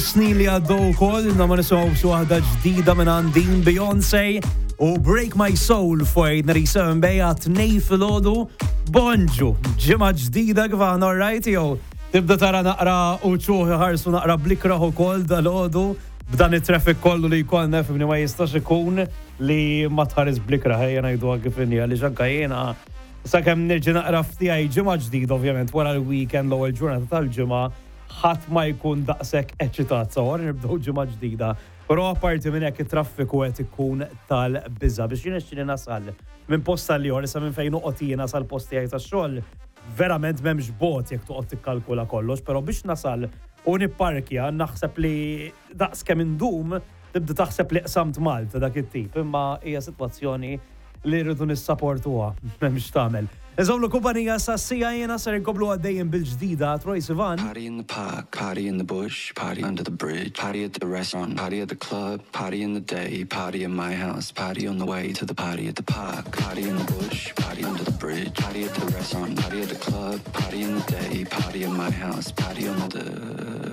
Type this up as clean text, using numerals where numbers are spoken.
Snin li għaddew ukoll ilna ma nisimgħu xi waħda ġdida minn għandin Beyoncé u Break My Soul for 97 bejja tnej filgħodu. Bonġu, ġimgħa ġdida kif aħna alright jew tibda tara naqra u ċuħi ħarsu naqra blikraħ ukoll dal-għodu b'dan it-traffic kollu li jkollna fimni ma jistax ikun li ma tħares blikraħ ejja ngħiduha kif inhi għaliex anke jiena sakemm nerġa' naqra ftiegħi ġimgħa ġdida ovvjament wara l-weekend l-ewwel ġurnata tal-ġimgħa ħadd ma jkun daqshekk eċitat sewwa nibdew ġimgħa ġdida. Però apparti minn hekk it-traffiku qed ikun tal-biża' biex jirnexxieli nasal minn post għal ieħor issa minn fejn noqgħod jiena sal-post tiegħi tax-xogħol verament m'hemmx bogħod jekk toqgħod tikkalkula kollox, però biex nasal u nipparkja naħseb li daqs kemm indum tibda taħseb li qsamt Malta dak it-tip, imma hija sitwazzjoni li rridu nissaportuha, m'hemmx tagħmel. Inżommlu kumpanija sas-siegħa jiena ser inkomplu għaddejjin bil-ġdida Troye Sivan. Party in the park, party in the bush, party under the bridge, party at the restaurant, party at the club, party in the day, party in my house, party on the way to the party at the park, party in the bush, party under the bridge, party at the restaurant, party at the club, party in the day, party in my house, party on the...